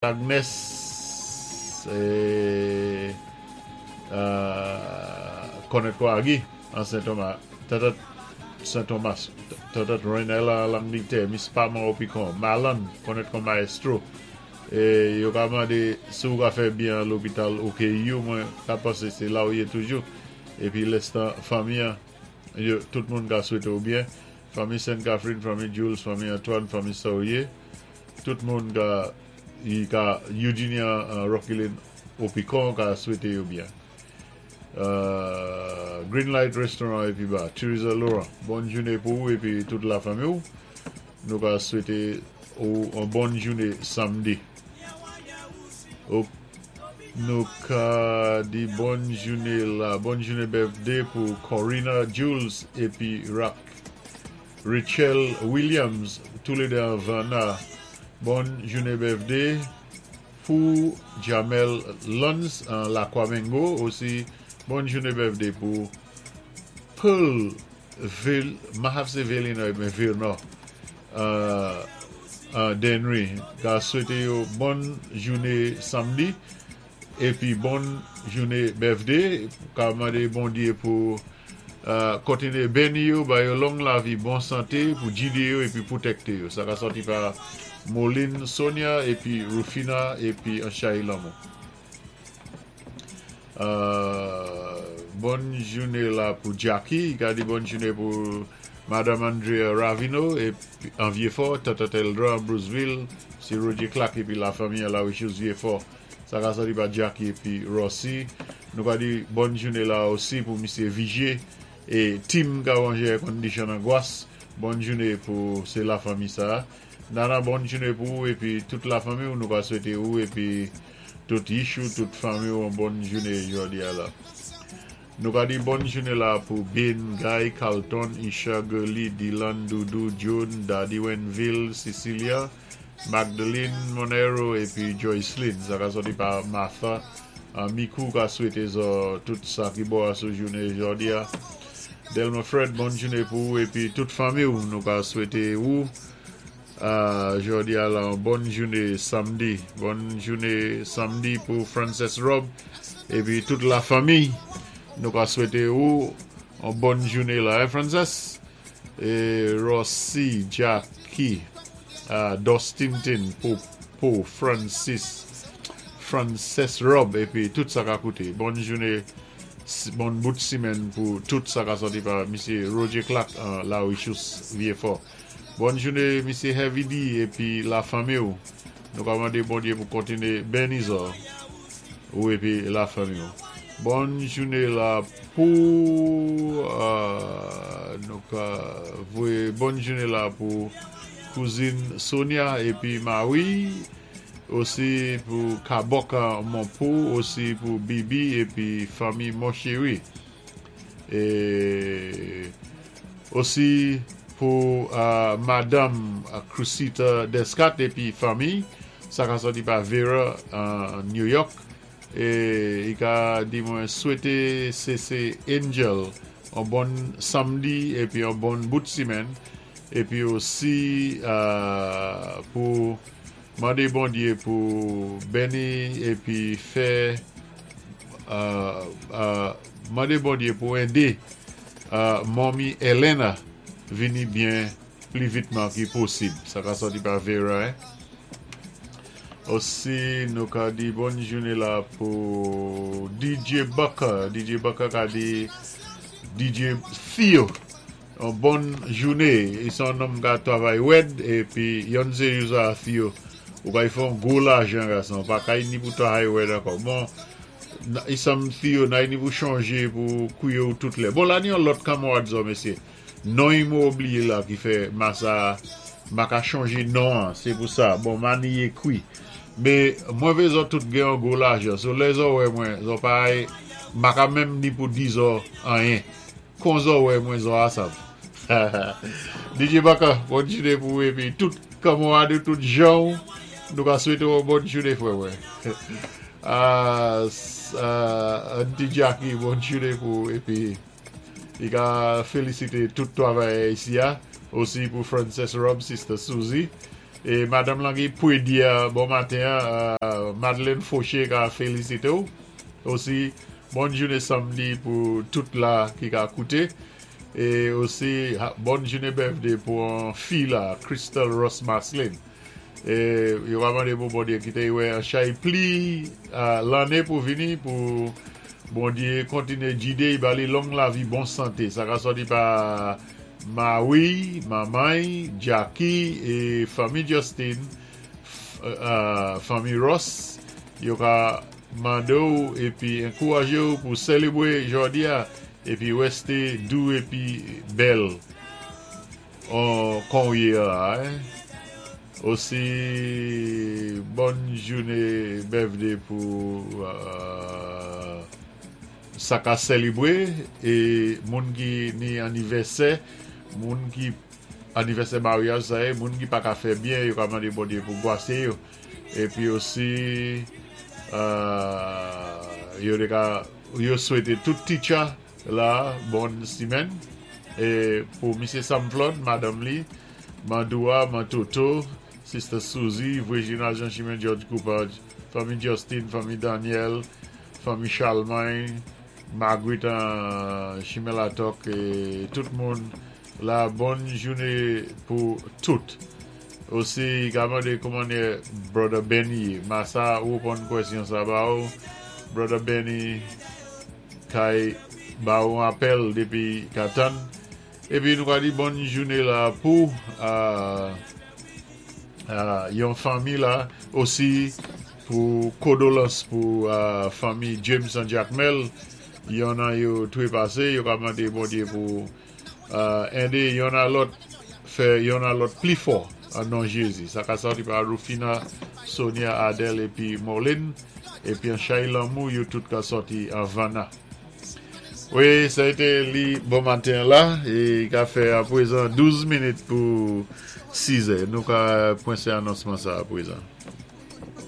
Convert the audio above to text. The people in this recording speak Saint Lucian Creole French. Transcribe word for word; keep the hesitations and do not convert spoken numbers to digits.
Agnes é, euh, konnèt kon Agi an Sen-Thomas, Tata Sen-Thomas, Tata Renella Langletè, Miss Pama Opicon, Malan konnèt kon Maestro. É yo ka mandé si ou ka fè byen lopital O K U, mwen ka pansé sé la ou yé toujou. Épi lèstan fanmi, yo, tout moun ka swété ou byen. Fanmi Sainte-Catherine, fanmi Jules, fanmi Antoine, fanmi Saurier, tout moun ka i ka Eugenia uh, Rockylin Opicon ka swété yo byen. Euh, Green Light Restaurant épi ba, Teresa Laurent, bòn jouné pou ou épi tout la fanmi ou. Nou ka swété ou yon bòn jouné samdi. Ou, nou ka di bòn jouné la, bòn jouné birthday pou Corina Jules épi Rock Rachel Williams, toulédé an Vanna. Bòn jouné birthday pou Jamel Luns an Lakwamengo. Osi, bòn jouné birthday pou Pearl Vil, Mahafse Villeneuve, men Villeneuve, euh, euh, Denry. Ka swété yo bòn jouné samdi épi bòn jouné birthday. Ka mandé Bondyé pou euh, kontiné béni yo, ba yo long lavi, bon santé, pou gidé yo épi pwotèkté yo. Sa ka sòti pa Moline Sonia épi Rufina épi Anchaï Lamou. Euh, bòn jouné la pou Jackie, ka di bòn jouné pou Madame Andrea Ravino épi an Vieux-Fort, Tata Teldra an Bruceville, sé Roger Clark épi la fanmi la Wichus Vieux-Fort. Sa ka sòti pa Jackie épi Rossi. Nou ka di bòn jouné la osi pou Misyé Vigier é Tim ka wanjé air condition an Gwas. Bòn jouné pou sé la fanmi sa. Nana, bòn jouné pou ou épi tout la fanmi ou. Nou ka swété ou épi tout Yishou, tout fanmi ou yon bòn jouné jòdi a la. Nou ka di bòn jouné la pou Ben, Guy, Carlton, Isha, Gurley, Dylan, Doudou, June, Daddy Wenville, Cecilia, Magdalene Monero épi Joycelyn. Sa ka sòti pa Martha. Uh, Mikou ka swété zo tout sa ki bo a sou jouné jòdi a. Delma Fred, bòn jouné pou ou épi tout fanmi ou. Nou ka swété ou uh, jòdi a la bòn jouné samdi. Bòn jouné samdi pou Frances Rob épi tout la fanmi. Nou ka swété ou yon bòn jouné la, hein, Frances? É Rossi, Jackie, uh, Dostinton pou, pou Francis, Frances Rob épi tout sa ka kouté. Bòn jouné, bon bout simèn pou tout sa ka sòti pa Misyé Roger Clark uh, la Wichus Vieux-Fort. Bòn jouné Misyé Heavy D épi la fanmi ou. Nou ka mandé Bondyé pou kontiné béni zo ou épi la fanmi ou. Bòn jouné la pou euh, nou ka voyé bòn jouné la pou kouzin Sonia épi Marie, osi pou Kaboka Monpou, osi pou Bibi épi fanmi Monchéri. É osi pou euh, Madame Crucita Descat épi fanmi, sa ka sòti pa Vera an New York. É i ka di mwen swété C C Angel yon bon samdi épi yon bon bout simèn épi osi euh, pou mandé Bondyé pou béni épi fè euh, euh, mandé Bondyé pou édé euh, manmi Elena vini byen pli vitman ki posib. Sa ka sòti pa Vera, hein? Osi, nou ka di bòn jouné la pou D J Bucker. D J Bucker ka di D J Theo yon bòn jouné. I son nonm ka twavay wèd épi yon sé jou sa, Theo. Ou ka y fè yon gwo lajan, gason. Pa kay ni pou twavay wèd ankò. Bon, i sam Theo nay ni pou chanjé pou kouye ou tout lè. Bon, la ni yon lòt kanmwad zo, mesyé. Non yi mou oubliye la ki fè masa ma ka chanje non an, sé pou sa. Bon, ma ni ye kwi. Mé mwen vé zo tout gen yon gwo lajan. So lè zo wè mwen, zo pa ma ka menm ni pou di zo anyen. Kon zo wè mwen, zo a sav. D J Baka, bòn jouné pou épi tout kanmwad, tout jan, nou ka swété yon bòn jouné, fwè mwen. Uh, uh, Auntie Jackie, bòn jouné pou épi i ka félisité tout twavayè isi a, osi pou Frances Rob, Sister Susie. É Madanm lan ki Pwédi bon maten, euh, Madeleine Fauché ka félisité osi bòn jounen sanmdi pou tout la ki ka kouté. É osi bòn jounen birthday pou yon fi la, Crystal Ross Maslin. É yo va mandé pou Bondyé kité wè an chay pli euh, lanné pou vini pou Bondyé kontiné gidé ba li long lavi bon santé. Sa ka sòti pa Maui, Mamay, Jackie é fanmi Justin, euh, fanmi Ross, yo ka mandé ou épi ankourajé ou pou sélébwé jòdi a épi wèsté dou épi bèl an kon yé la hein. Osi bòn jounen birthday pou euh, sa ka sélébwé é moun ki ni anivèsè, moun ki anivèsè maryaj sa yé, moun ki pa ka fè byen, yo ka mandé Bondyé pou gwasé yo. Épi osi euh, yo de ka yo swété tout teacher la bòn simèn é pou Misye Sam Flood, madanm li, Mandoua, Mantoto, Sister Suzy, Virginia Jean-Chimène George Cooper, fanmi Justin, fanmi Daniel, fanmi Charlemagne, Marguerite euh, Chimelatok é tout moun la bòn jounen pou tout. Osi, ka mandé kouman Brother Benny, masa ou pon kwèsyon sa ba ou, Brother Benny kay ba ou apèl dépi katan. Épi nou ka di bòn jounen la pou euh, euh, yon fanmi la osi pou kondóléans pou euh, fanmi James and Jacmel yon nan yo twépasé yo ka mandé Bondyé pou euh, édé yon a lòt fè yon a lòt pli fò an non Jézi. Sa ka sòti pa Rufina, Sonia, Adèle épi Moline épi an chay lanmou yo tout ka sòti an Vanna. Wi, sa té li bon maten la é ka fè aprezan douz minit pou siz è. Nou ka pwensé anonsman sa aprezan.